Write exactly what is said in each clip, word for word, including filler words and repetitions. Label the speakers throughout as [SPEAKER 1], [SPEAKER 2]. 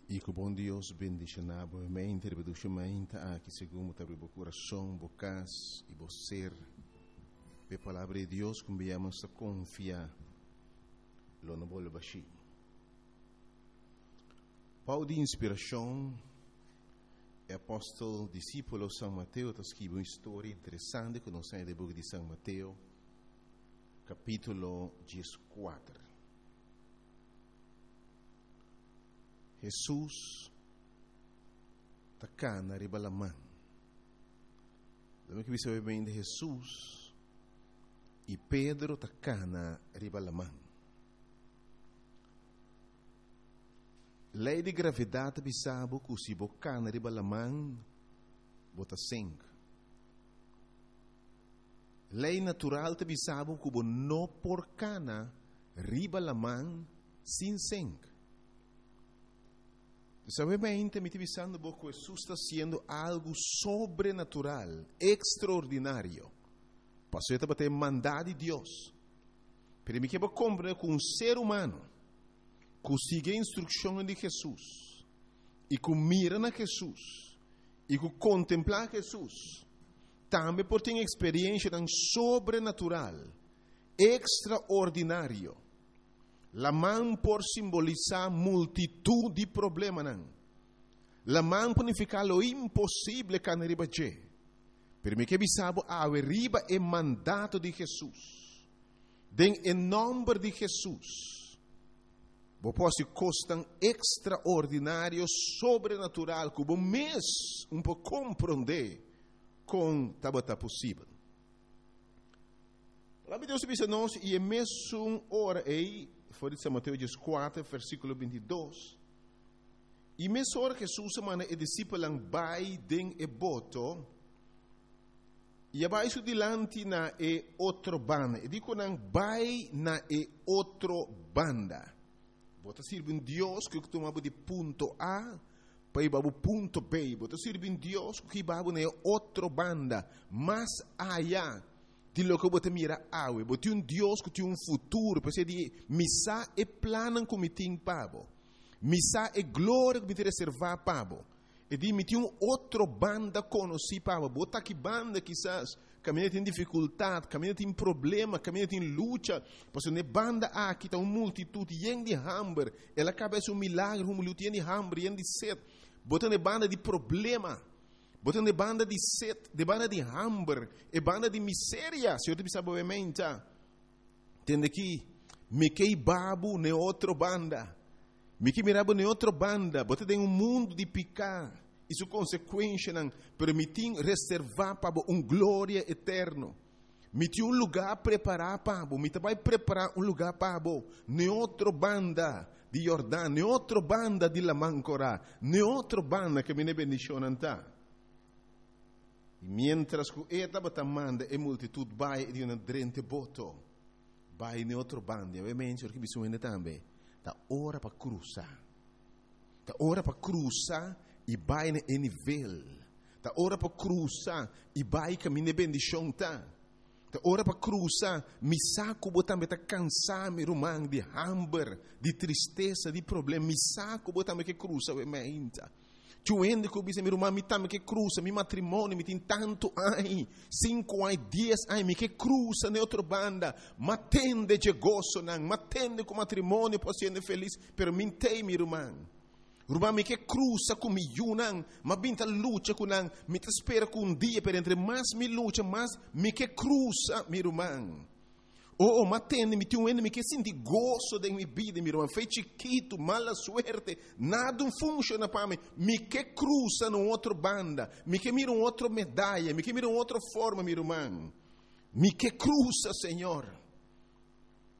[SPEAKER 1] I ku bon Dios bendishoná bo mente, riba dushi mainta aki, segun bo ta habri bo kurason, bo kas i bo ser pa e Palabra di Dios ku nos ta konfia lo no bolbe bashí. Bou di inspirashon, e apòstel disípulo San Mateo ta skirbi un historia interesante ku nos tin den buki di San Mateo, kapítulo dieskuater. Hesus ta kana riba laman. Laga mi bisa di Hesus i Pedro ta kana riba laman. Lei di gravedat ta bisa bo ku si bo kana riba laman, bo ta sink. Lei natural ta bisa bo ku bo no por kana riba laman sin sink. Sabiamente mi ta bisando bo ku Hesus ta hasiendo algu sobrenatural, ekstraordinario. Pasobra e tabata mandá di Dios. Pero mi ke bo komprendé ku un ser humano ku sigui e instrukshonnan di Hesus i ku mira na Hesus i ku kontemplá Hesus tambe por tin eksperenshanan sobrenatural, ekstraordinario. Laman por simbolisá multitut di problemanan. Laman por nifiká lo imposible kana riba dje. Pero mi ke bisa bo awe riba e mandato di Hesus. Den e nòmber di Hesus, bo por hasi kosnan ekstraordinario, sobrenatural, ku bo mes un por komprondé kon tabata posibel. Palabra di Dios ta bisa nos, I e mesun ora ei, for di San Mateo dieskuater, versíkulo binti dos, I mesora Hesus a manda e disipelnan bai den e boto, i a bai su dilanti na e otro banda. E di ku nan, Bai na e otro banda. Bo ta sirbi un Dios ku tuma bo di punto A pa hiba bo punto B. Bo ta sirbi un Dios ku hiba bo na e otro banda, mas aya di loke bo ta mira awe. Bo tin un Dios ku tin un futuro. P'esei di, Mi sa e plannan ku mi tin pa bo. Mi sa e gloria ku mi tin reservá pa bo. E di, Mi tin un otro banda konosí pa bo. Bo ta ki banda kisas kaminda tin difikultat, kaminda tin problema, kaminda tin lucha. Pasobra na e banda aki ta un multitut yen di hamber. El a kaba hasi un milagro, un multitut yen di hamber, yen di set. Bo ta na e banda di problema. Bo ta na e banda di set, de banda di hamber, e banda di miseria. Señor ta bisa bo meinta, Tende aki, mi ke hiba bo na e otro banda. Mi ke mira bo na e otro banda. Bo ta den un mundu di piká i su konsekuenshanan, pero mi tin reservá pa bo un gloria eterno. Mi tin un lugá prepará pa bo. Mi ta bai prepará un lugá pa bo na e otro banda di Yordan, na e otro banda di Laman Korá, na e otro banda ku mi bendishonnan ta. I miéntras ku e tabata manda e multitut bai, e di nan, Drenta e boto, bai na e otro banda. I awe mensha ora ki bisa un hende tambe, ta ora pa krusa. Ta ora pa krusa i bai na e nivel. Ta ora pa krusa i bai kaminda e bendishon ta. Ta ora pa krusa. Mi sa ku bo tambe ta kansá, mi ruman, di hamber, di tristesa, di problema. Mi sa ku bo tambe ke krusa awe meinta. Txeu hende ku bisa, mi ruman, mi tambe ke krusa, mi matrimonio, mi tin tantu ai, sinku ai, dies ai, mi ke krusa na e otro banda. M'a tende dje gosonan, m'a tende ku matrimonio por hasi hende felis, pero mi n'tei, mi ruman. Ruman, mi ke krusa ku mi yunan, m'a bin ta lucha ku nan, mi ta spera ku un dia, pero entre mas mi lucha, mas mi ke krusa, mi ruman. Oh, oh, m'a tende, mi tin un hende, mi ke sinti goso den mi bida, mi ruman, fe chikitu, mala suerte, nada un funciona pa mi, mi ke krusa na un otro banda, mi ke mira un otro medaya, mi ke mira un otro forma, mi ruman. Mi ke krusa, Señor.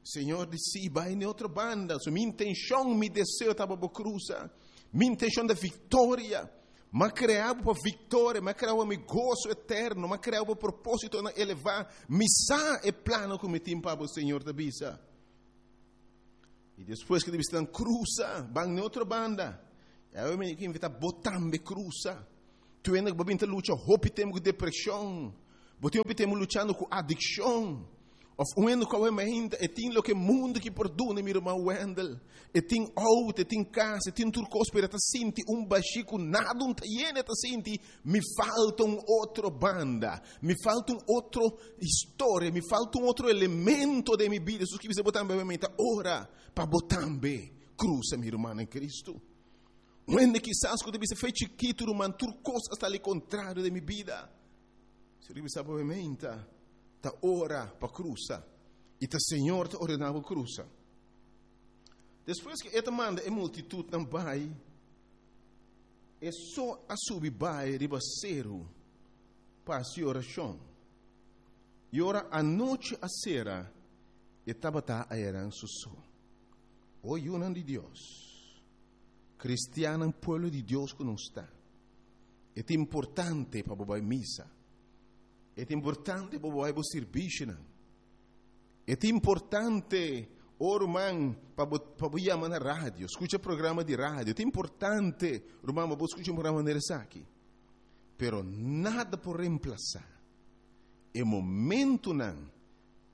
[SPEAKER 1] Señor di, sí, bai na otro banda. So mi intenshon, mi deseo ta pa bo krusa. Mi intenshon ta viktoria. M'a krea bo pa viktoria, m'a krea bo pa mi goso eterno, m'a krea bo pa propósitonan elevá. Mi sa e plano ku mi tin pa bo, Señor ta bisa. I despues ku e ta bisa nan krusa, ban na otro banda. I awe mi ke invitá bo tambe krusa. Tur hende ku bo a bin ta lucha hopi tempu ku depreshon, bo tin hopi tempu luchando ku adikshon, Òf un hende ku mainta e tin loke mundu ke por duna, mi ruman Wendel. E tin outo, e tin kas, e tin tur kos, pero e ta sinti un bashí ku nada no ta yena, ta sinti, mi falta un otro banda, mi falta un otro historia, mi falta un otro elemento di mi bida. Hesus ke bisa bo tambe, ta ora pa bo tambe krusa, mi ruman den Kristu. Un hende kisas ku ta bisa for di chikitu, ruman, tur kos ta al kontrario di mi bida. Señor bisa bo ta ora pa krusa. I ta Señor ta ordená krusa. Despues ku el a manda e multitutnan bai, e so a subi bai riba seru pa orashon. I ora anochi a sera, e tabata einan su so. O yunan di Dios, kristiannan, pueblo di Dios ku nos ta. Ta importante pa bai misa. Ta importante pa bai servisio. Ta importante, ruman, pa pa yama na radio, skucha programa di radio. Ta importante, ruman, pa skucha un programa aki. Pero nada por remplasá e momentonan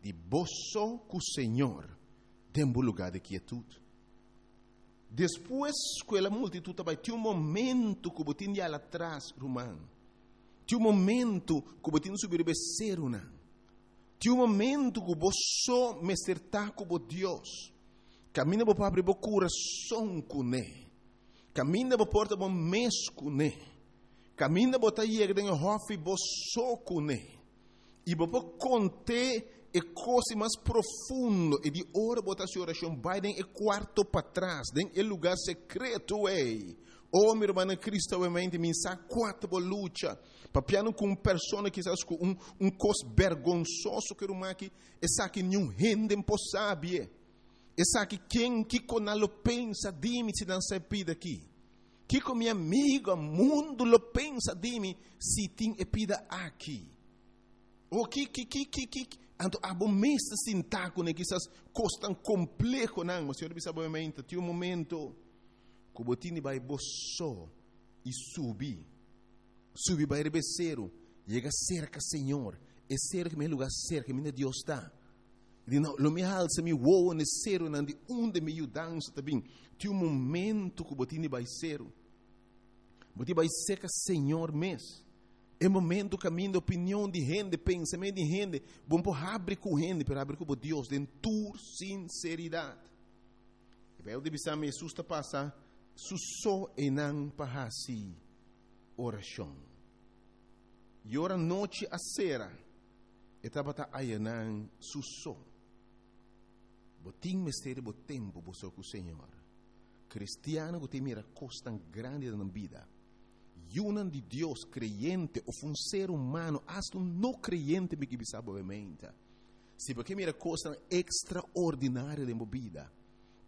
[SPEAKER 1] di bo so ku Señor den un lugá di kietut. Despues ku e multitut bai, tin un momento ku bo tin di atras, ruman. Tin un momento ku bo tin di subi seru nan. Tin un momento ku bo so mester ta ku Dios. Kaminda bo por habri bo kurason kuné. Kaminda bo por ta bo mes kuné. Kaminda bo ta yega den hòfi bo so kuné. I bo por kont'é e kos mas profundo i di ora bo ta hasi orashon bai den e kuarto patras, den e lugá sekreto ei. Oh, mi ruman Kristu, obviamente, mi sa kua ta bo lucha. Papiando ku un persona kisas ku un, un kos bergonsoso ku ruman aki, esaki ningun hende por sabi. Esaki ken kiko nan lo pensa di mi si nan sa pida aki. Kiko mi amigu, mundu lo pensa di mi si tin e pida aki. O ki ki ki ki ki anto abo mes ta sinta ku kisas kos tan kompleho nan, mas Señor bisa obviamente, tin un momento ku bo tin di bai bo so i subi. Subi bai riba seru, yega serka Señor. E seru ku mi lugá serka, mi Dios ta. Di no, lo mi halsa mi wowo na serunan di unda mi yudansa ta bin. Tin un momento ku bo tin di bai seru. Bo tin bai serka Señor mes. E momento kaminda opinion di hende, pensamentu di hende, bo por habri ku hende, pero habri ku Dios, den tur sinseridat. I Beibel ta bisa Hesus ta pasa su so einan pa hasi orashon. I ora nochi a sera, e tabata einan su so. Bo tin mester bo tempu bo so ku Señor. Kristian ku ta mira kos grandi den bida. Yunan di Dios, kreyente, òf un ser humano, hasta un no kreyente, mi ke bisa obviamente. Si bo mira kos ekstraordinario den bida,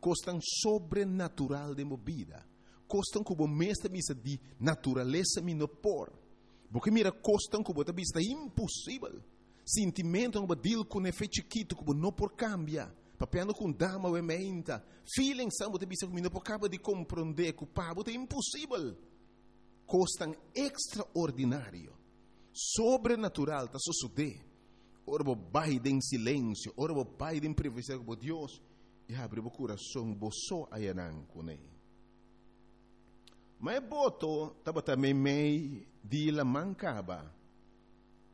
[SPEAKER 1] kos sobrenatural den bida, kos ku bo mes ta bisa di naturalesa mi no por. Bo mira kos ku bo ta bisa imposibel. Sentimentu ku deal ku un efekto chikitu ku no por kambia. Papiando ku dama obviamente. Feeling sabe bo bisa ku no por kaba di komprondé ku pa bo ta imposibel. Kos ekstraordinario, sobrenatural ta susedé. Ora bo bai den silensio, ora bo bai den privasidat ku Dios i habri bo kurason, bo so einan kuné. Ma e boto tabata meimei di laman kaba.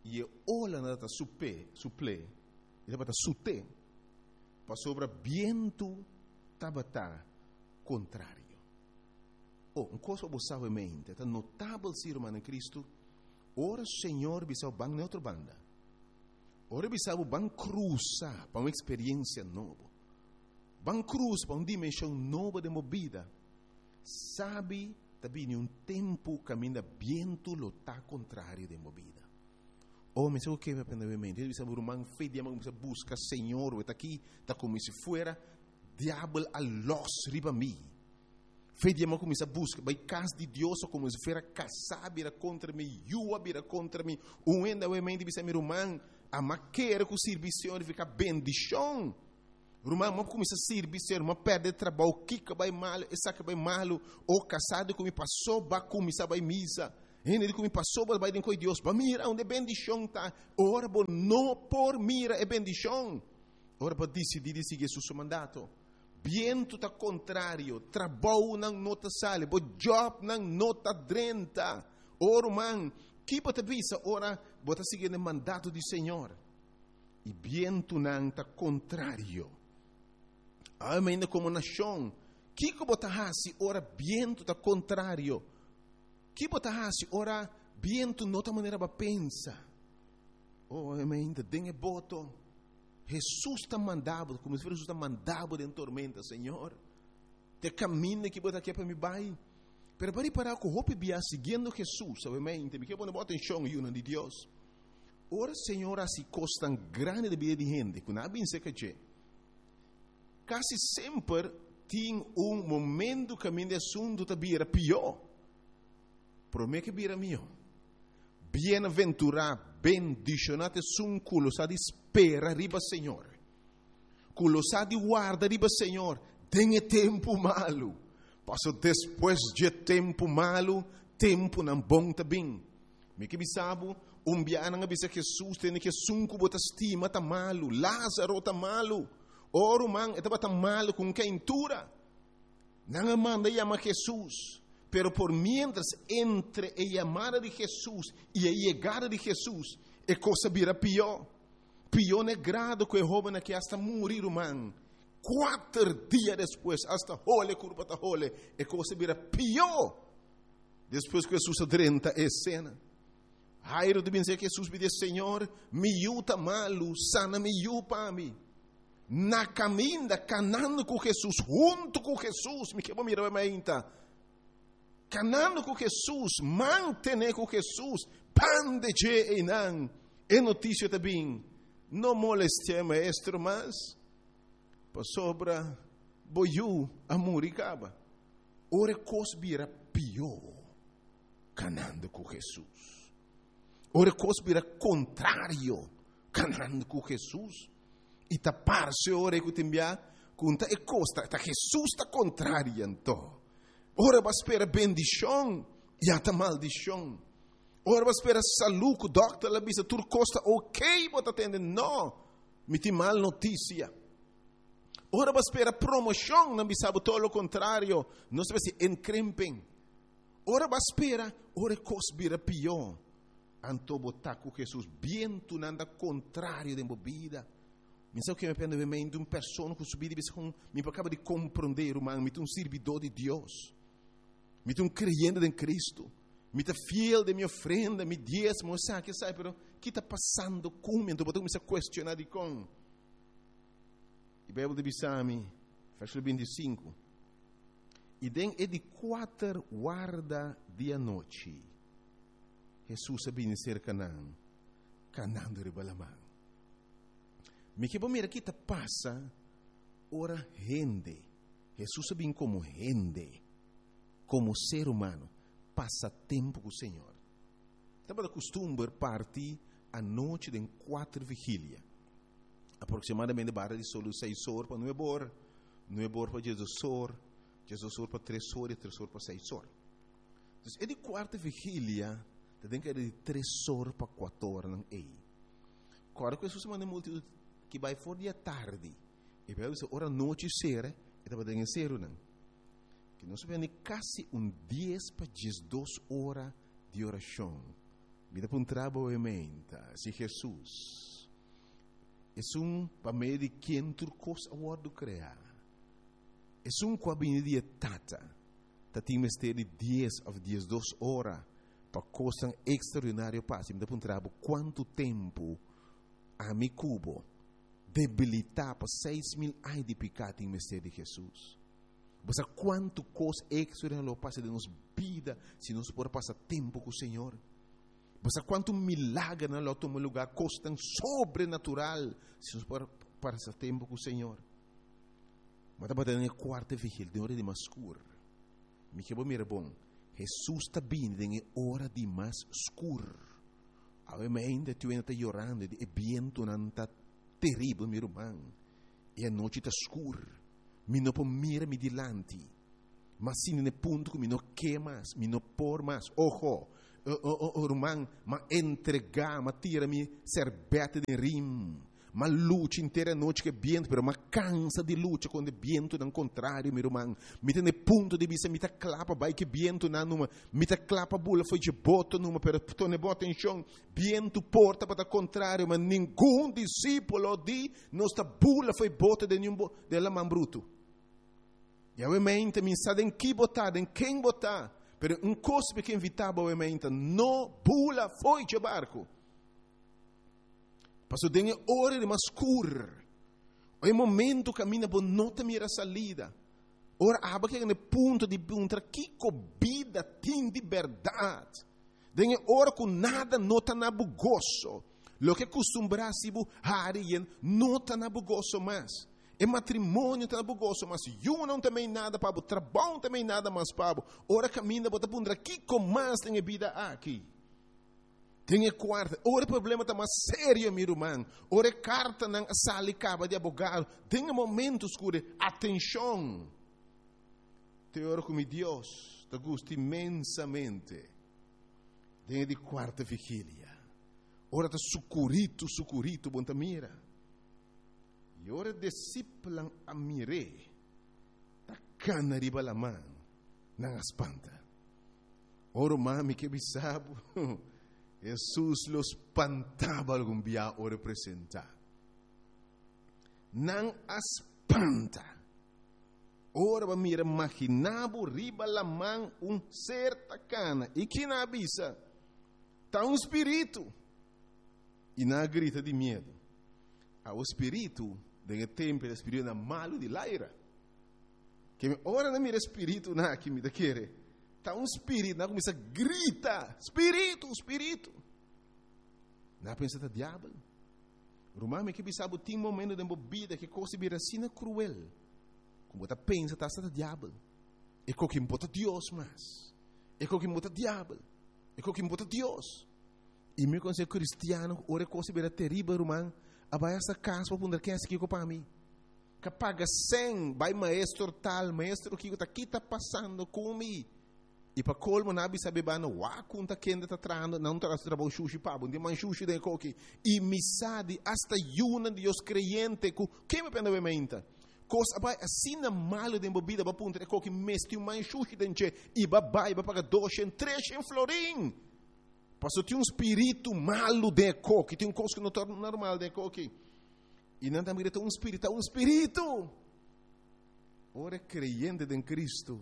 [SPEAKER 1] I e olanan tabata supe, supl'é, e tabata sut'é. Pasobra bientu tabata kontrario. Oh, un kos bo sabi mente, ta notabel si ruman den Kristu, ora Señor bisa ban na otro banda. Ora bisa ban krusa pa un eksperensia nobo. Ban krusa pa un dimenshon nobo di bida. Sabi tambe un tempu kaminda bientu lo ta kontrario di bida. Oh, mi sa ku mi aprendé mente. Bisa ruman fe di bisa buska Señor, ta aki, ta komo si fuera diabel a los riba mi. Fe di kuminsá buska, bai kas di Dios, komo si fuera kasá bira kontra mi, yu a bira kontra mi. Un hende mente bisa mi ruman, ami ke ku servisio fika bendishon. Ruman, m'a kuminsá sirbi, Señor, m'a pèrdè trabou, kiko bai malu, esaki bai malu, o kasá ku mi pasó, b'a kuminsá bai misa. Hende ku mi pasó, bai den Dios, b'a mira unda bendishon ta. Ora bo no por mira e bendishon. Ora bo disidí di sigui Hesus su mandato. Bientu ta kontrario, trabounan no ta sali, bo jobnan no ta drenta. O ruman, ki bo ta bisa ora bo ta sigui e mandato di Señor? I bientunan ta kontrario. Amèn, komo nashon, kiko bo ta hasi ora bientu ta kontrario? Ki bo ta hasi ora bientu no ta manera bo a pensa? Oh, amèn, den e boto. Hesus ta mandando, komo si Hesus ta mandando den tormenta, Señor. Ta kaminda ku bo ke pa mi bai. Pero pa ripará ku hopi bia siguiendo Hesus, obviamente, mi ke pone atenshon, yu di Dios. Ora Señor hasi kos tan grandi den bida di hende, ku nan a bin serka dje, kasi semper tin un momento kaminda asuntu ta bira pió. Promé ku bira mihó. Bienaventurá, bendishoná esun ku lo sa di spera riba Señor. Ku lo sa di warda riba Señor. Den tempu malu. Paso despues di tempu malu, tempunan bon ta bin. Mi ke bisa bo, un biaha nan a bisa Hesus, tin ku esun ku bo ta stima ta malu, Lázaro ta malu. O ruman, e tabata malu ku keintura. Nan a manda yama Hesus. Pero por mientras entre e yamada di Hesus i e yegada di Hesus, e kos a bira pió. Pió na grado ku e hóben aki asta muri, ruman. Kuater dia despues, asta hole, kurpa ta hole, e kos a bira pió. Despues ku Hesus a drenta e esena. Jairo ta bin serka Hesus pidi, Señor, mi yu ta malu, sana mi yu pa mi. Na kaminda, kanando ku Hesus, huntu ku Hesus, mi ke mira ainda. Kanando ku Hesus, mantené ku Hesus, banda di dje einan, e notisia ta bin, no molestiá maestro mas, pasobra bo yu a muri kaba. Ora kos bira pió, kanando ku Hesus. Ora kos bira kontrario, kanando ku Hesus. I ta parse ora ku tin bia, ku ta e kos ta, ta Hesus ta kontrario anto. Ora bo a spera bendishon, ya ta maldishon. Ora bo a spera salú, ku dòkter a bisa tur kos ta ok, bo ta tende no. Mi tin mal notisia. Ora bo a spera promoshon, nan bisa bo tur lo kontrario. Nos ta bai inkrimping. Ora bo a spera, ora kos bira pió. Anto bo ta ku Hesus, bientunan ta kontrario den bo bida. Mi sa ku mi pende mente un persona ku su bida bisa ku mi kaba di komprondé, ruman, mi ta un sirbidó di Dios. Mi ta un kreyente den Kristu. Mi ta fiel den mi ofrenda, mi diesmo, sabe, sabe, pero kiko ta pasando ku mi? Anto bo ta kuminsá kuestioná di kon. E Beibel ta bisa mi, versíkulo bintisinku. I den e di kuater warda di anochi, Hesus a bini serka nan, kanando riba laman. Mi ke mira kiko ta pasa, ora hende, Hesus a bini komo hende, komo ser humano, pasa tempu ku Señor. Tabata kustumber parti anochi den kuater vigilia. Aproksimadamente banda di solo seis or pa nuebe or, nuebe or pa diesdos or, diesdos or pa tres or i tres or pa seis or. Anto, e di kuarta vigilia, tin ku di tres or pa kuater or nan ei. Ora ku Hesus a manda multitut ku bai for di atardi, i bai ora nochi sera, e tabata den seru nan. Ku nos ta kasi un dies pa diesdos ora di orashon. Mi ta puntra bo mente, si Hesus esun pa medio di ken tur kos a wòrdu kreá. Esun ku a bini di Tata. Tabatin mester di dies òf diesdos ora pa kos ekstraordinario pasa. Mi ta puntra bo kuantu tempu ami ku bo debilitá pa seis mil aña di piká tin mester di Hesus. Bo sa kuantu kos ekstraordinario pasa den nos bida si nos por pasa tempu ku Señor. Bo sa kuantu milager lo tuma lugá, kos sobrenatural si nos por pasa tempu ku Señor. Ma tabata den kuarta vigilia, den ora di mas skur. Mi ke mira bon. Hesus ta bini den ora di mas skur. Awe ainda tur ta yorando, e bientunan ta teribel, mi ruman. I anochi ta skur. Mi no por mira mi dilanti. Ma asina, na punto ku mi no ke mas, mi no por mas. Ojo, oh, oh, oh, ruman, m'a entregá, m'a tira mi sèrbètè den rim. M'a lucha henter anochi ku bientu, pero m'a kansa di lucha ku e bientunan kontrario, mi ruman. Mi ta na punto di bisa, mi ta kla pa bai ku bientunan numa, mi ta kla pa bula for di boto numa, pero tene bon atenshon, bientu por tabata kontrario, ma ningun disipel di nos ta bula for di boto den ningun den laman brutu. I awe mainta, mi sa den ki bo ta, den ken bo ta, pero un kos mi ke invitá bo awe mainta, no bula for di barku. Paso den ora di mas skur. E momento kaminda bo no ta mira salida. Ora abo a yega na punto di puntra kiko bida tin di berdat. Den ora ku nada no ta na bo goso. Loke kustumbrá bo hari no ta na bo goso mas. E matrimonio ta na bo goso, mas yu no tin nada pa bo, trabou no tin nada mas pa bo. Ora kaminda bo ta puntra kiko mas den bida aki. Den kuarto, ora problema ta mas serio, mi ruman. Ora kartanan a sali kaba di abogado. Den momento skur, atenshon. Te ora ku mi Dios ta gusta inmensamente. Den di kuarto vigilia. Ora ta sukuritu, sukuritu, bo ta mira. I ora disipelnan a mir'é. Ta kana riba laman. Nan a spanta. Ora mami ke bisa bo. Jesus lo spanta bo algun bia ora presentá. Nan a spanta. Ora bo mira imaginá bo riba laman un ser ta kana. I ki nan a bisa? Ta un spiritu. I nan a grita di miedu. E spiritu, den tempu, e spiritunan malu di laira. Ku mi ora nan mira spiritu nan aki mi ta kere. Ta un spiritu, nan a kuminsá grita, spiritu, spiritu. Nan a pensa ta diabel. Ruman, mi ke bisa bo tin momento den bida ku kos bira asina kruel. Ku bo ta pensa ta ta diabel. E ku no ta Dios mas. E ku no ta diabel. E ku no ta Dios. I mi konosé kristiano, ora kos bira teribel, ruman. A bai asta kas pa puntra ken a pa mi. Ku paga sèn, bai maestro tal, maestro kiko ta ki ta pasando ku mi. I pa kolmo nan a bisa bo no wa konta kende ta trahando, nan ta trabou shushi pa, bon di man shushi den koki. I mi sa di hasta yunan Dios kreyente ku ke mi penda menta. Kos a bai asina malu den bida ba puntra e koki mesti un man shushi den che i ba bai ba paga dos tres florin. Paso tin un spiritu malu den koki, tin un kos ku no ta normal den koki. I nan tambe tin un spiritu, un spiritu. Ora kreyente den Kristu,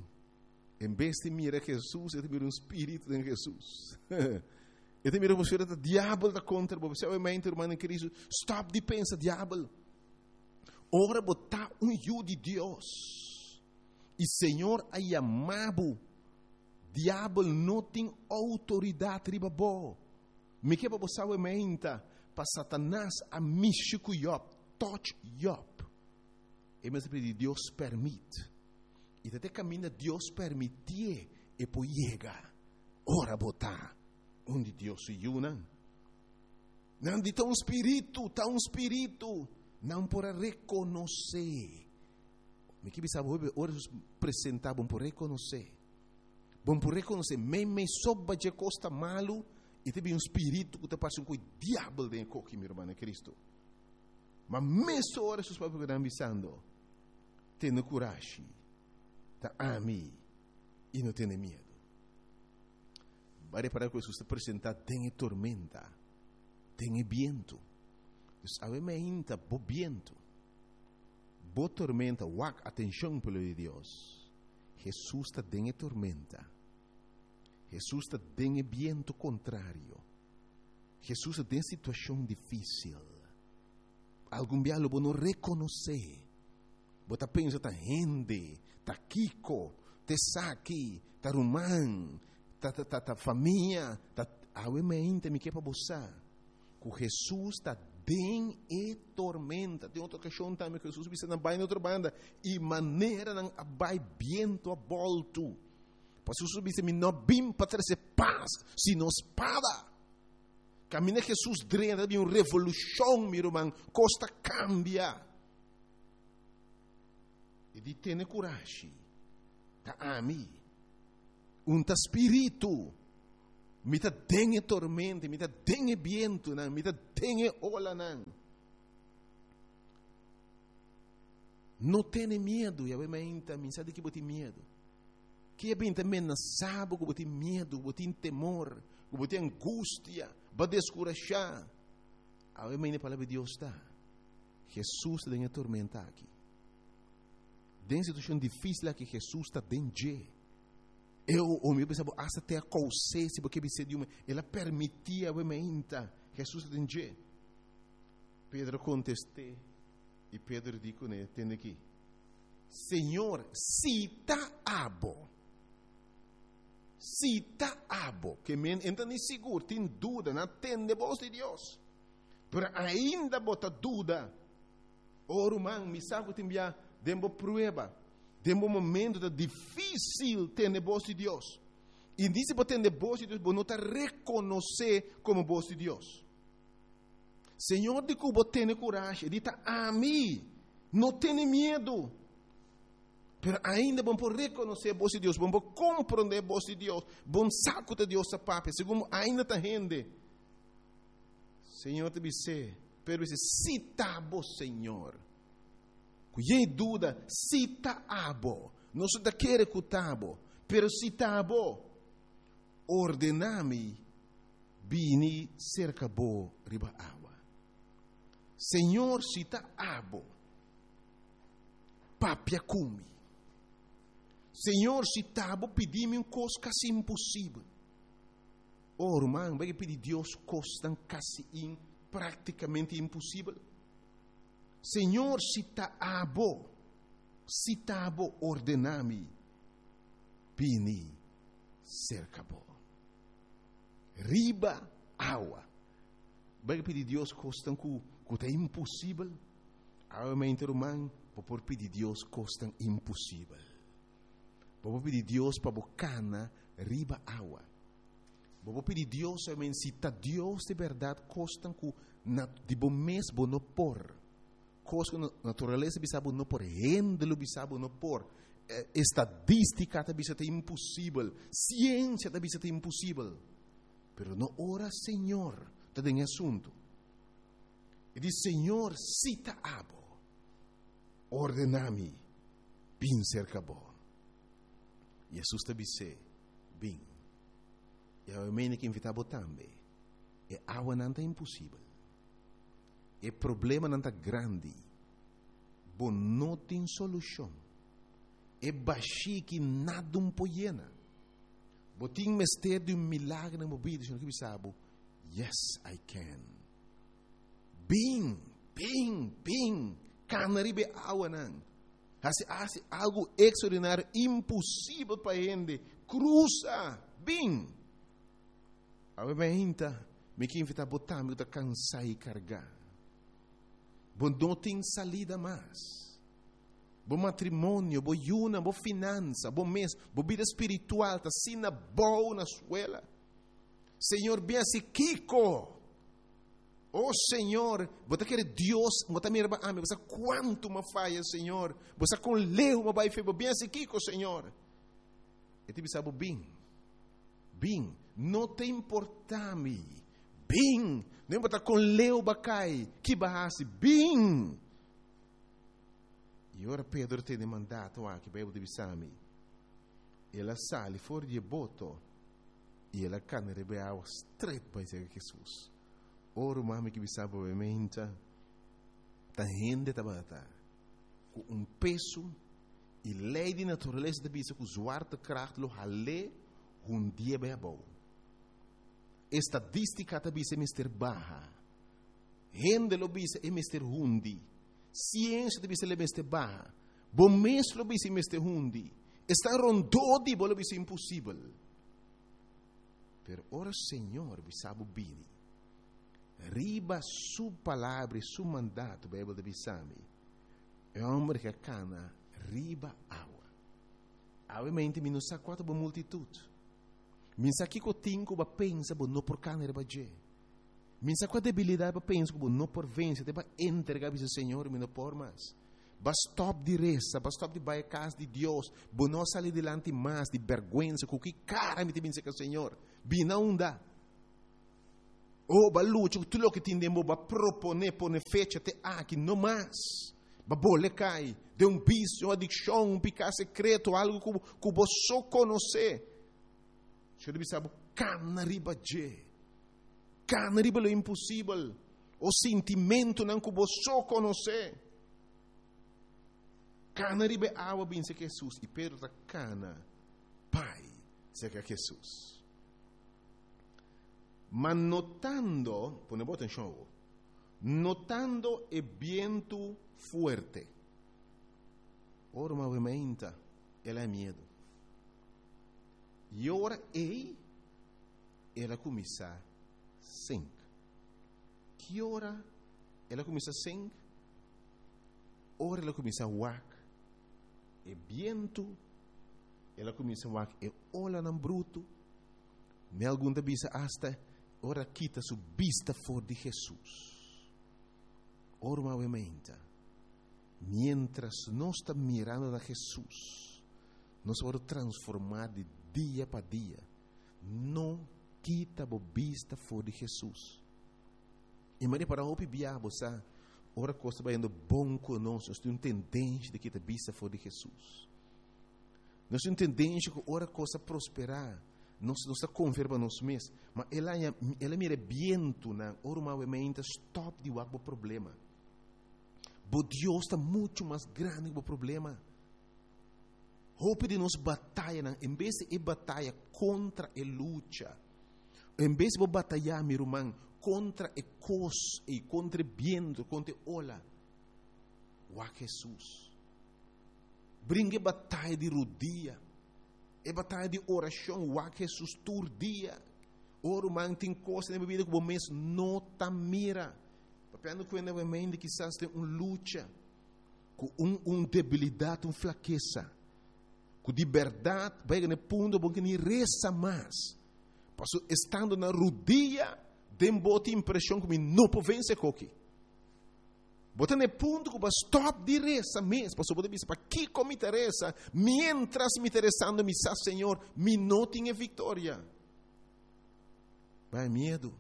[SPEAKER 1] en bes di mira Jesus, e ta mira un spiritu den Jesus. E ta mira bo ta diabel ta kontra bo. Bo mente, ruman den Kristu, stòp di pensa diabel. Ora bo ta un yu di Dios. I Señor a yama bo. Diabel no tin outoridat riba bo. Mi ke pa bo sabi menta pa Satanas a mishi ku Job, touch Job. E mester pidi Dios pèrmit. I te kaminda Dios permití e por yega. Ora bo ta un di Dios su yunan. Nan di ta un spiritu, ta un spiritu. Nan por a rekonosé. Mi ke bisa ora presentá, bo por rekonosé. Bo por rekonosé, mei mei soba de costa malu e teve um espírito que te passa um coi diabo dentro coque, meu irmão, Cristo. Mas mesmo ora Jesus próprio está avisando, tenha coragem, ta ami i no tene miedu. Bai para ku Jesus ta presentá den tormenta, den bientu. Dus awe mainta bo bientu. Bo tormenta, wak atenshon pueblo di Dios. Jesus ta den tormenta. Jesus ta den bientu kontrario. Jesus ta den situashon difísil. Algun bia bo no rekonosé. Bo ta pensa ta hende, ta kiko, ta saki, ta ruman, ta ta ta, ta famia, ta awe mainta mi ke pa bo sa. Ku Jesus ta den e tormenta. Tin otro okashon tambe ku Jesus bisa nan bai na otro banda i manera nan a bai bientu a bòltu. Paso Jesus bisa mi no a bin pa trese pas, sino spada. Kaminda Jesus drenta di un revolushon, mi ruman, kos ta kambia. E di tene kurashi. Ta ami. Un ta spiritu. Mi ta den tormenta, mi ta den bientunan, mi ta den olanan. No tene miedu, i awe mainta, mi sa di ki bo tin miedu. Ki a bin ta menasá bo ku bo tin miedu, bo tin temor, ku bo tin angustia, bo a deskurashá. Awe mainta e palabra di Dios ta, Hesus ta den e tormenta aki. Den situashon difísil aki Hesus ta den dje. Eu, o mi pensa bo hasta te a kous'é, si bo ke bis'é di un, el a permití awe mainta, Hesus ta den dje. Pedro kontest'é, i Pedro di kuné, Tende aki, Señor, si ta abo, si ta abo, ke men e no ta ni sigur, tin duda, nan a tende bos di Dios, pero ainda bo ta duda. O ruman, mi sa ku tin bia den bo prueba, den bo momento ta difísil tende bos di Dios. I ni si bo tende bos di Dios, bo no ta rekonosé komo bos di Dios. Señor di ku bo tene kurashi, e di ta ami, no tene miedu. Pero ainda bo por rekonosé bos di Dios, bo por komprondé bos di Dios, bo sa ku ta Dios ta papia, segun bo ainda ta hende. Señor ta bis'é, Pedro bis'é, si ta bo, Señor. Ku yei duda, si ta abo. Nos no ta kere ku ta bo, pero si ta bo, ordená mi bini serka bo riba awa. Señor, si ta abo, papia ku mi. Señor, si ta bo, pidi mi un kos kasi imposibel. Oh, ruman, bai pidi Dios kosnan kasi in praktikamente imposibel. Señor, si ta abo, si ta bo, ordená mi bini serka bo riba awa. Bai pidi Dios kosnan ku ku ta imposibel. Awe mainta, ruman, bo por pidi Dios kosnan imposibel. Bo por pidi Dios pa bo kana riba awa. Bo por pidi Dios, amen, si ta Dios di bèrdat, kosnan ku na di bo mes bo no por. Kos ku naturalesa bisa bo no por, hende lo bisa bo no por. Estadística ta bisa ta imposibel, siensia ta bisa ta imposibel. Pero no ora Señor ta den e asuntu. E di, Señor, si ta abo, ordena mi bin serka bo. Jesus ta bis'é, Bin. I awe mene ke invitá bo tambe. E awanan ta imposibel. E problemanan ta grandi. Bo no tin solushon. E bashí ki nada un por yena. Bo tin mester di un milagro den bo bida. Señor ke bisa bo, Yes, I can. Bin, bin, bin. Kana riba e awanan. Hasi, hasi algu ekstraordinario, imposibel pa hende. Krusa, bin. Awe mainta, mi ke invitá bo tambe ku ta kansá i kargá. Bo no tin salida mas. Bo matrimonio, bo yunan, bo finansa, bo mes, bo bida spiritual ta asina bou na suela. Señor, bin hasi kiko? O Señor, bo ta kere Dios, bo ta mira ba ami, bo sa kuantu m'a faya, Señor. Bo sa kon leu m'a bai fe, bo bin hasi kiko, Señor? E ta bisa bo, bin, bin, no ta importa mi, bin, no importa kon leu b'a kai, ki b'a hasi, bin. I ora Pedro tene mandato aki, Bijbel ta bisa mi, el a sali for di e boto i el a kana riba e awa stret bai serka Hesus. O ruman, mi ke bisa bo bementa, ta hende tabata ku un peso i lei di naturalesa ta bisa ku zwaartekracht lo hal'é hundié bai abou. Estadística ta bisa e mester baha. Hende lo bisa e mester hundi. Siensia ta bisa el e mester baha. Bo mes lo bisa e mester hundi. Esnan rondó di bo lo bisa imposibel. Pero ora Señor bisa bo bini, riba Su palabra i Su mandato, Bijbel ta bisa mi, e homber ke a kana riba awa. Awe mente mi no sa kua ta bo multitut. Mi sa kiko tin ku bo a pensa bo no por kana riba dje. Mi sa kua debilidat bo a pensa ku bo no por vense, te bo a entrega bisa Señor mi no por mas. Bo a stop di resa, bo a stop di bai e kas di Dios, bo no a sali dilanti mas di bèrgwensa, ku ki kara mi ta bin serka Señor? Bina unda? Oh, bo a lucha ku tur loke tin den bo, bo a proponé pone fecha te aki, no mas. Bo a bolbe kai den un visio, adikshon, un piká sekreto, algu ku, ku bo so konosé. Señor bisa bo kana riba dje. Kana riba lo imposibel. O sentimentonan ku bo so konosé. Kana riba awa bin serka Hesus. I Pedro ta kana bai serka Hesus. Ma notando, pone bon atenshon, notando e bientu fuerte. Ora movimento, el a miedu. I ora ei, el a kuminsá sink. Ki ora el a kuminsá sink? Ora el a kuminsá wak. E bientu, el a kuminsá wak e olanan brutu. Mi algun ta bisa hasta ora kita su bista for di Hesus. Ora movimento. Mientras nos ta mirando na Hesus, nos ta transformá di dia pa dia. No kita e bista for di Hesus. I Maria para hopi bia sa, ora kos ta bayendo bon ku nos, nos tin un tendensia di kita bista for di Hesus. Nos tin un tendensia ku ora kos prosperá, nos nos ta konfia riba nos mes, ma el a el a mira bientunan, ora movimento stòp di wak problema. Bo Dios ta muchu mas grandi ku e problema. Hopi di nos batayanan, en bes di bataya kontra e lucha, en bes di bataya, mi ruman, kontra e kos, i kontra e bientu, kontra e ola, wak Hesus. Bringa bataya di rudia, e bataya di orashon, wak Hesus tur dia. O ruman, tin kos den bida ku bo mes no ta mira. Papiando ku e kisas tin un lucha, ku un, un debilidat, un flakesa. Ku di berdat bai na punto bo ke ni resa mas. Paso estando na rudia, den bo tin impreshon ku mi no por vense e kos aki. Bo ta na punto ku bo stòp di resa mes, paso bo bisa pakiko mi ta resa, mientras mi ta resando mi sa Señor, mi no tin viktoria. Bai miedu.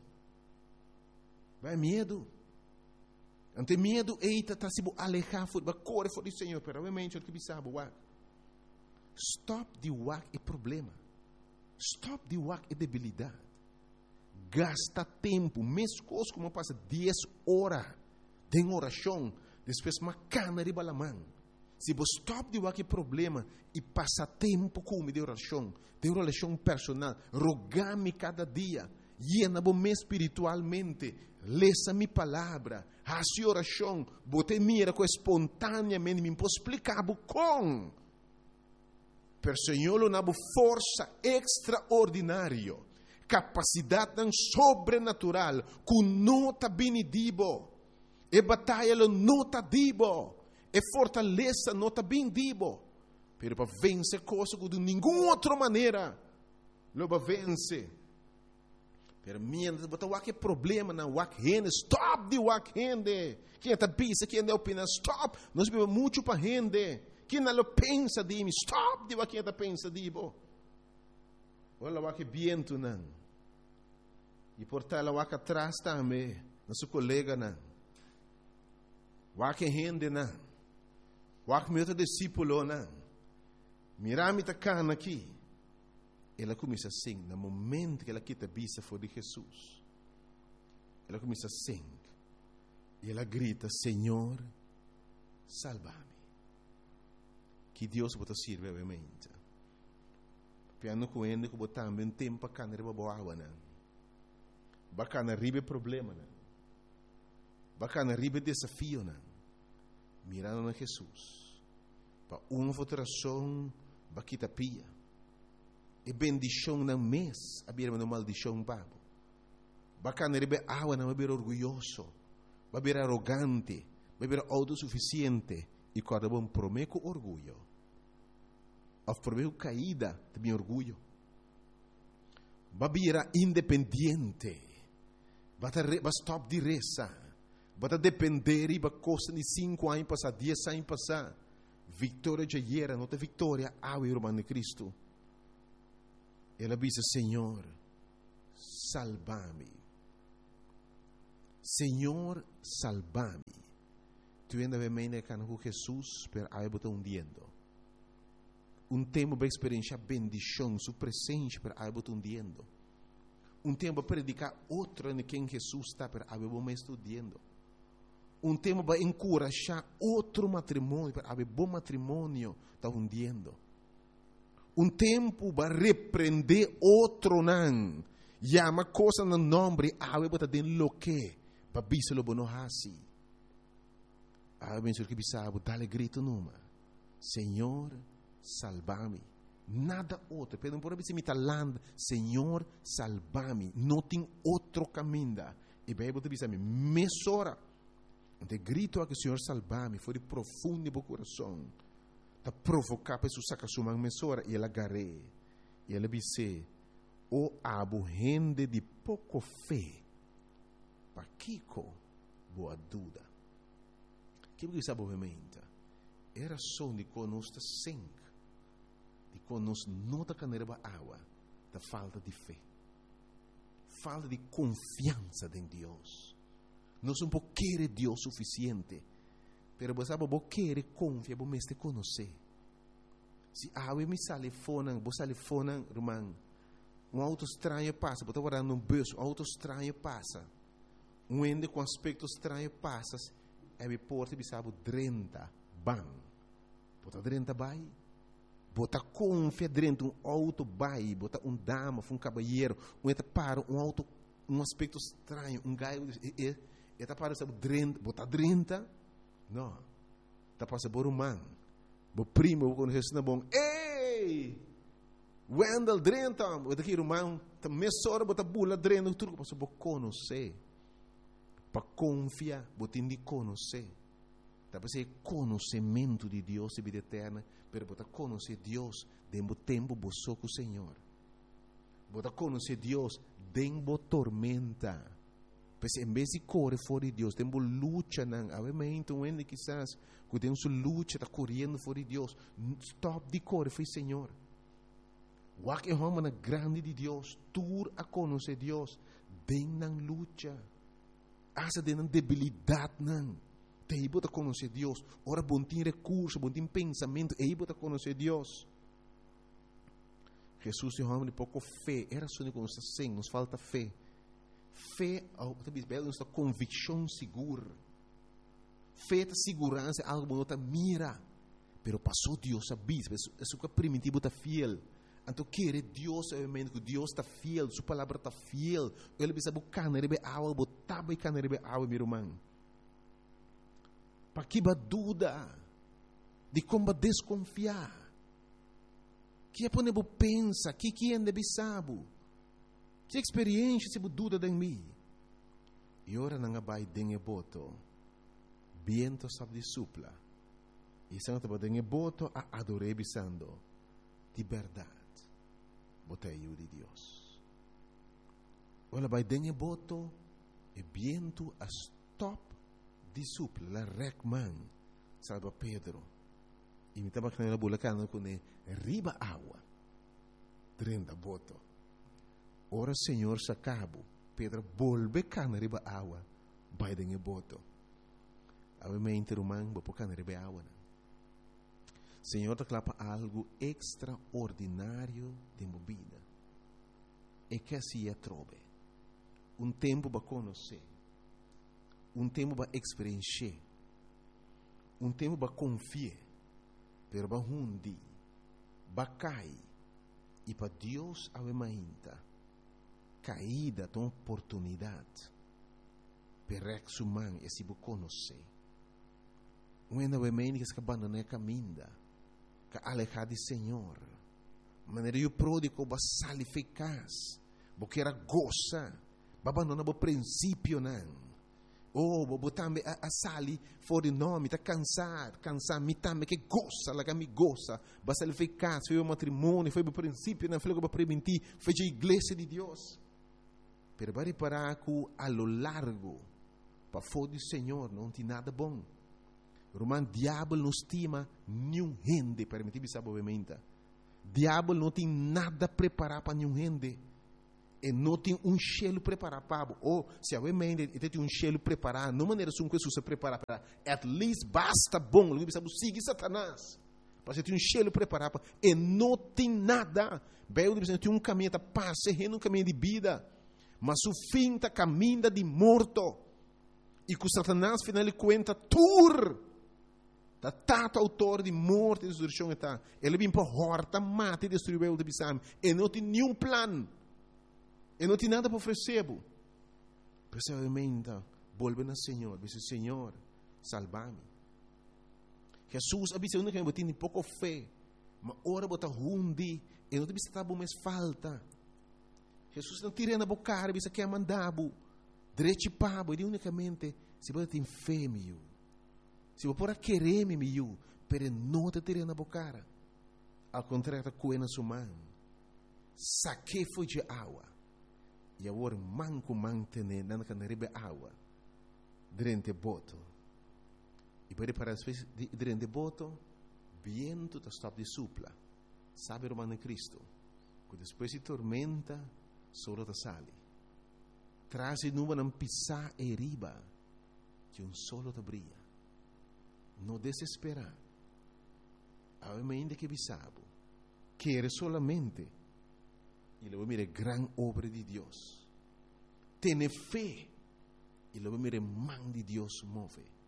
[SPEAKER 1] Bai miedu. Anto miedu ei ta ta si bo alehá for, bo kore for di Señor, pero obviamente ku bisa bo wak. Stòp di wak e problema. Stòp di wak e debilidat. Gasta tempu, meskos ku pasa dies ora den orashon, despues m'a kana riba laman. Si bo stòp di wak e problema i pasa tempu ku mi den orashon, den relashon personal, roga mi kada dia, yena bo mes spiritualmente, lesa mi palabra, hasi orashon, bo ta mira ku espontáneamente, mi por splika kon. Pero Señor duna forsa ekstraordinario, kapasidat sobrenatural, ku no ta bini di bo. E bataya no ta di bo. E fortalesa no ta bini di bo. Pero pa vense kos di ningun otro manera, lo bo vense. Pero mientras bo ta wak problemanan wak hende, stòp di wak hende. Ken ta bisa, ken ta opiná, stòp. Nos ta biba muchu pa hende. Ken lo pensa di mi, stòp di wak ken ta pensa di bo. Ora wak bientunan. I por ta el a wak atras tambe, na su koleganan. Wak hendenan. Wak mi otro disipelnan. Mira mi ta kana aki. El a kuminsá sink, na momento ku el a kita bista for di Hesus. El a kuminsá sink. I el a grita, Señor, salba mi. Ki Dios bo ta sirbi, obviamente. Papiando ku hende ku bo tambe un tempu a kana riba awanan. B'a kana riba problemanan. B'a kana riba desafionan. Mirando na Hesus. Pa un òf otro rason, b'a kita pia. E bendishonnan mes, a bira un maldishon pa bo. B'a kana riba awanan, b'a bira orguyoso. B'a bira arogante, b'a bira outosufisiente i kòrda bon promé ku orguyo. Òf promé ku kaida tin orguyo. B'a bira independiente. B'a b'a stòp di resa. B'a dependé riba kos di sinku aña pasá, dies aña pasá. Viktoria di ayera, no ta viktoria, awe ruman di Kristu. El a bisa, Señor, salba mi. Señor, salba mi. Tur hende a meen ku Hesus, pero awe bo ta hundiendo. Un tempu pa eksperensiá bendishon, su presensia, pero awe bo ta hundiendo. Un tempu pa prediká otro na ken Hesus ta, pero awe bo mes ta hundiendo. Un tempu pa enkurashá otro matrimonio, pero awe bo matrimonio ta hundiendo. Un tempu pa reprendé otronan, yama kos na nòmber, awe bo ta den loke, pa bisa lo bo no hasi. Awe mi ke bisa bo, dal gritu numa. Señor, salba mi. Nada otro. Pero no por bisa mi ta landa. Señor, salba mi. No tin otro kaminda. E Beibel ta bisa mi, mesora. E gritu ku Señor salba mi, for di profundo di kurason. Ta provoká pa Hesus saka su man mesora i el a gar'é. I el a bis'é, o abo hende di poko fe, pakiko bo a duda? Kiko ku sabe obviamente? E rason di ku nos ta sink, di ku nos no ta kana riba awa, ta falta di fe. Falta di konfiansa den Dios. Nos no por kere Dios sufisiente. Pero bo sabe, bo kere konfia, bo mester konosé. Si awe mi sali fonan, bo sali fonan, ruman, un outo straño pasa, bo ta wardando un bùs, un outo straño pasa. Un hende ku aspekto straño pasa, e mi porta bisa bo drenta, ban. Bo ta drenta bai. Bo ta konfia drenta un outo bai, bo ta un dama, un kabayero, un ta para un outo, un aspekto straño, un gai, e, e, e ta para sabe drenta, bo ta drenta. No. Ta pasa bo ruman. Bo primo, bo konosé na bon. Ei! Wendel drenta, bo ta aki ruman, ta mesora bo ta bula drenta, tur paso bo konosé. Pa konfia, bo tin di konosé. Ta p'esei konosementu di Dios i bida eterno, pero bo ta konosé Dios den bo tempu bo so ku Señor. Bo ta konosé Dios den bo tormenta. Pues en bes di kore for di Dios, den bo luchanan, awe mainta un hende kisas ku tin su lucha ta koriendo for di Dios. Stòp di kore for di Señor. Wak e hòmbernan grandi di Dios, tur a konosé Dios, den nan lucha. Asta den nan debilidatnan. T'ei bo ta konosé Dios. Ora bo n' tin rekurso, bo n' tin pensamentu, ei bo ta konosé Dios. Hesus e hòmber di poko fe, e rason ku nos ta sin, nos falta fe. Fe, oh, nos ta konvikshon sigur. Fe ta siguransa, algu ku no ta mira. Pero paso Dios a bisa, esei ku primitivo ta fiel. Anto kere Dios, obviamente, ku Dios ta fiel, su palabra ta fiel. El a bisa bo kana riba awa, bo ta bai kana riba awa, mi ruman. Pakiko b'a duda? Dikon b'a deskonfiá? Ki a pone bo pensa? Ki ki hende bisa bo? Ki eksperensia si bo duda den mi? I ora nan a bai den e boto, bientu a stòp di supla. I esnan tabata den e boto a ador'é bisando, di bèrdat, bo ta Yu di Dios. Ora bai den e boto, e bientu a stòp di supla, el a rèk man, salba Pedro. I mi tabata na bula kana kuné riba awa, drenta boto. Ora Señor saka bo, Pedro bolbe kana riba awa, bai den e boto. Awe mainta ruman, bo por kana riba awa. Señor ta kla pa algu ekstraordinario den bo bida. E ke hasi atrobe. Un tempu pa konosé. Un tempu pa eksperensiá. Un tempu pa konfia. Pero b'a hundi, b'a kai. I pa Dios awe mainta. Kaida ta un oportunidat. P'e rèk su man i hasi bo konosé. Un hende awe mainta ku a bandoná kaminda. Ku a alehá di Señor. Manera yu pródigo b'a sali fo'i kas. Bo ker a gosa. B'a bandoná bo prinsipionan. Oh, bo tambe a, a sali for di no, mi ta kansá, kansá, mi tambe ke gosa, laga mi gosa. B'a sali fo'i kas, fo'i matrimonio, fo'i prinsipionan, fo'i ku b'a primintí, fo'i iglesia di Dios. Pero b'a ripará ku a lo largu, pafó di Señor, no tin nada bon. Ruman, diabel no stima ningun hende, permití bisa obviamente. Diabel no tin nada prepará pa ningun hende. E no tin un shelu prepará pa bo. O, si awe mainta e tin un shelu prepará, no manera esun ku Hesus a prepará pa, at least basta bon, lo bisa sigui Satanas. Pa tin un shelu prepará pa, e no tin nada. Beibel ta tin un kaminda ta parse un kaminda di bida, ma su fin ta kaminda di morto. I ku Satanas final di kuenta tur ta tata outor di morto i destrukshon ta. El a bin pa hòrta, mata i destruí. Beibel ta bisa. E no tin ningun plan. E no tin nada pa ofresé. Precisamente, bolbe na Señor, bisa: "Señor, salba mi." Hesus a bisa ku tin poko fe, ma ora bo ta hundi, e no ta bisa ta bo mes falta. Hesus no tira na bo kara, bisa ken a manda bo. Drechi pa bo, e únikamente, si bo tin fe, mi yu. Si bo por a kere mi, mi yu, pero no ta tira na bo kara. Al kontrario, ta kohe na su man. Sak'é for di awa. I awor man ku man tene, nan kana riba awa. Drenta boto. I pa para drenta boto, bientu ta stòp di supla. Sabe, ruman Kristu, ku despues di tormenta, solo ta sali. Tras di nubianan pisá ei riba, ku un solo ta bria. No desesperá. Awe ainda ke bisa bo, kere solamente i lo bo mira gran obra di Dios. Tene fe i lo bo mira man di Dios move.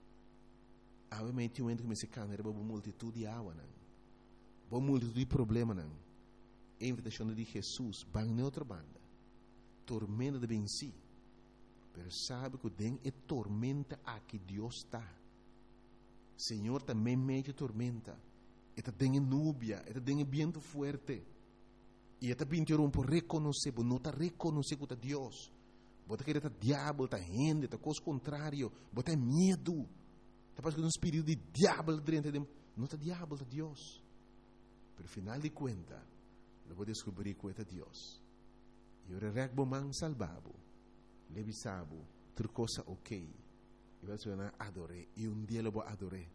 [SPEAKER 1] Awe mainta tin ku mester kana riba un multitut di awa nan. Un multitut di problemanan. E invitashon di Hesus, ban na otro banda. Tormenta ta bin sí. Pero sabe ku den e tormenta aki Dios ta. Señor ta meimei di tormenta. E ta den nubia, e ta den bientu fuerte. I e ta bin por rekonosé, no ta rekonosé ku ta Dios. Bo ta kere ta diabel, ta hende, ta kos kontrario, bo tin miedu. Ta parse ku un spiritu di diabel den di no ta diabel, ta Dios. Pero final di kuenta, lo bo deskubrí ku ta Dios. I ora rèk bo man salba bo. L'e bisa bo, tur kos ok. I bo ta ador'é. I un dia lo bo ador'é.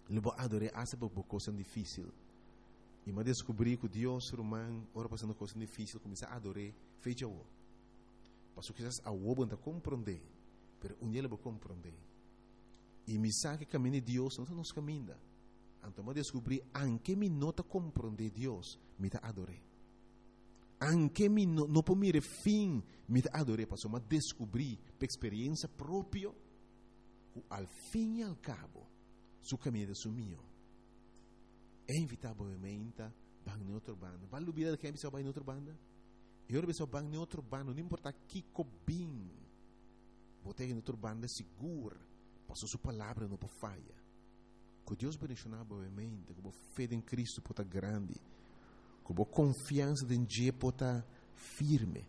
[SPEAKER 1] Lo bo ador'é, asta pa kos difísil. I m'a deskubrí ku Dios, ruman, ora pasando kos difísil, kuminsá ador'é, fecha o. Paso kisas awor bo no ta komprondé, pero un dia lo bo komprondé. I mi sa ku kaminda di Dios no ta nos kaminda. Anto m'a deskubrí, aunke mi no ta komprondé Dios, mi ta ador'é. Aunke mi no, no por mira fin, mi ta ador'é. Paso m'a deskubrí, pa eksperensia propio, ku al fin i al kabo, su kaminda ta mihó. E invitá bo mainta, ban na otro banda. Bai lubidá ken bisa bai na otro banda. I ora bisa ban na otro banda, no importá kiko bin. Bo ta na otro banda sigur. Paso su palabra no por faya. Ku Dios bendishoná bo mainta, ku fe den Kristu por ta grandi. Ku konfiansa den dje por ta firme.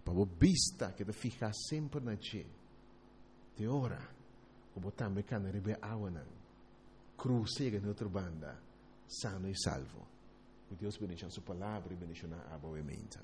[SPEAKER 1] Pa bo bista keda fihá semper na dje. Te ora, ku bo tambe kana riba awanan. Krusa na otro banda, sano i salvo. Ku Dios bendishoná su palabra i bendishoná abo mainta.